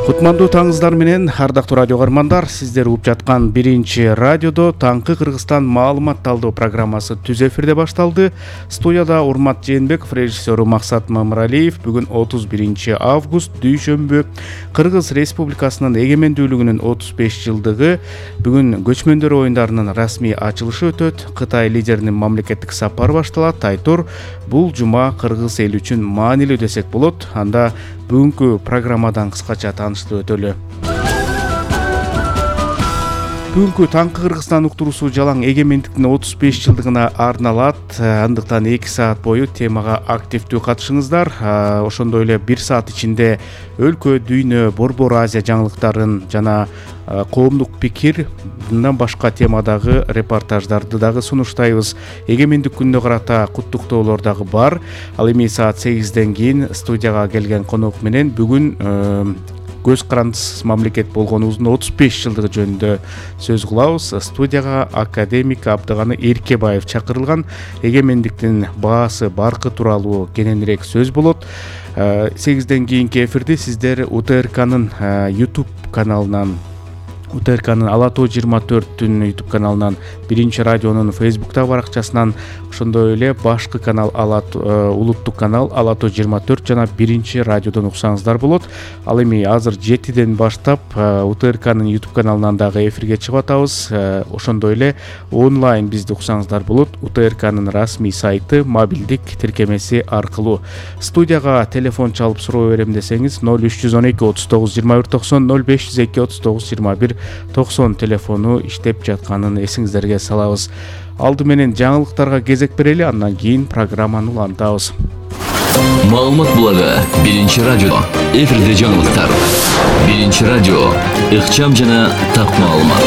Кутмандуу таңыңыздар менен, ардактуу радио каармандар, сиздер угуп жаткан биринчи радиодо Таңкы Кыргызстан маалымат талдоо программасы түз эфирде башталды. Студияда Урмат Жээнбеков, режиссеру Максат Мамыралиев. Бүгүн 31 август, дүйшөмбү, Кыргыз Республикасынын эгемендүүлүгүнүн 35 жылдыгы. Бүгүн көчмөндөр оюндарынын расмий ачылышы өтөт. Кытай лидеринин мамлекеттик сапары башталат. Айтор, бул жума кыргыз эли үчүн маанилүү десек болот. Анда бүгүнкү программадан кыскача таанышты өтөлү. Бүгүнкү Таңкы Кыргызстан уктуруусу жалаң эгемендиктин 35 жылдыгына арналат. Андыктан 2 саат бою темага активдүү катышыңыздар. Ошондой эле 1 саат ичинде өлкө, дүйнө, Борбор Азия жаңылыктарын жана коомдук пикир, мындан башка темадагы репортаждарды дагы сунуштайбыз. Эгемендик күнүнө карата куттуктоолор дагы бар. Ал эми саат 8ден кийин студияга келген конок менен бүгүн көз карандысыз мамлекет болгонубуздун 35 жылдыгы жөнүндө сөз кылабыз. Студияга академик Абдыганы Эркебаев чакырылган. Эгемендиктин баасы, баркы тууралуу кененирээк сөз болот. 8ден кийинки эфирди сиздер УТРКнын YouTube каналынан, УТРКнын Ала Тоо 24-түн YouTube каналынан, биринчи радионун Facebook баракчасынан, ошондой эле башкы канал улуттук канал Ала Тоо 24 жана биринчи радиодон уксаңыздар болот. Ал эми азыр 7ден баштап УТРКнын YouTube каналынан дагы эфирге чыгып атабыз. Ошондой эле онлайн бизди уксаңыздар болот. УТРКнын расмий сайты, мобилдик тиркемеси аркылуу. Студияга телефон чалып суроо берем десеңиз 0312 39 21 90, 0502 39 21 90 телефону иштеп жатканын эсиңиздерге салабыз. Алды менен жаңылыктарга кезек берели, андан кийин программаны улантабыз. Маалымат булагы биринчи радио. Эфирде жаңылыктар. Биринчи радио. Ыкчам жана так маалымат.